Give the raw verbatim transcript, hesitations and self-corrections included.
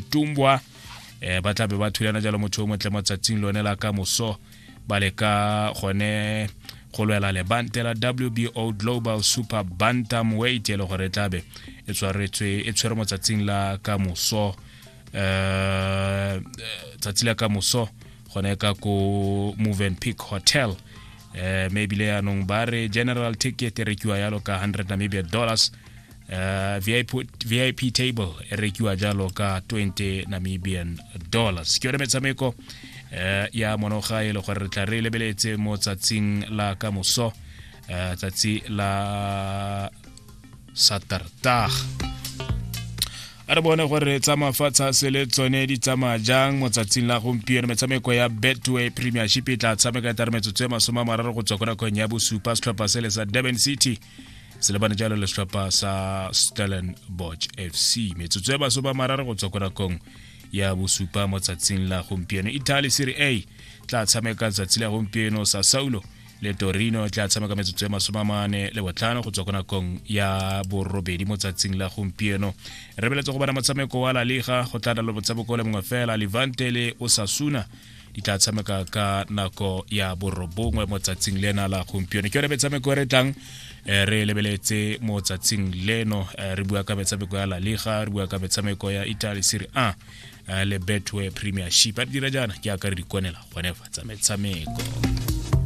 Tumbwa eh ba tla be ba thulana jalo motho o motle mo tsatsing lone la ka moso ba leka gone go lwela lebante la W B O Global Super Bantamweight e le gore tlabe e tshwaretswe e tshwere mo tsatsing la ka moso eh tsatsi la ka moso gone ka ko Movenpick Hotel. Eh maybe le yanong ba re general ticket e rekiwa yalo ka hundred Namibia dollars, uh, V I P, V I P table e rekiwa jalo ka twenty Namibian dollars. Ke yone metshameko eh ya monoga e le gore re tla re lebeletse mo tsatsing la ka moso, eh tsatsi la Saterdag. A re bone gore tsa mafatshe a sele tsone di tsamaya jang mo tsatsing la gompieno. Metshameko ya Betway Premiership e tla tshameka e tare metsotso e masome a mararo go tswa ko nakong ya bosupa. Setlhopha sele sa Durban City se lebane jalo le setlhopha sa Stellenbosch F C. Metsotso e masome a mararo go tswa ko nakong ya bosupa mo tsatsing la gompieno. Italy Serie A tla tshameka tsatsi la gompieno, Sassuolo le Torino tla tshameka metsotso e masome a mane le botlhano go tswa ko nakong ya borobedi mo tsatsing la gompieno. Re beletse go bona motshameko wa La Liga, go tla le motshameko le mongwe fela, Levante le Osasuna di tla tshameka ka nako ya borobongwe mo tsatsing lena la gompieno. Ke yone metshameko e re tlang re lebeletse mo tsatsing leno. Re bua ka metshameko ya La Liga, re bua ka metshameko ya Italy Serie A le Betway Premiership. A dira jaana ke aka re di konela gone fa tsa metshameko.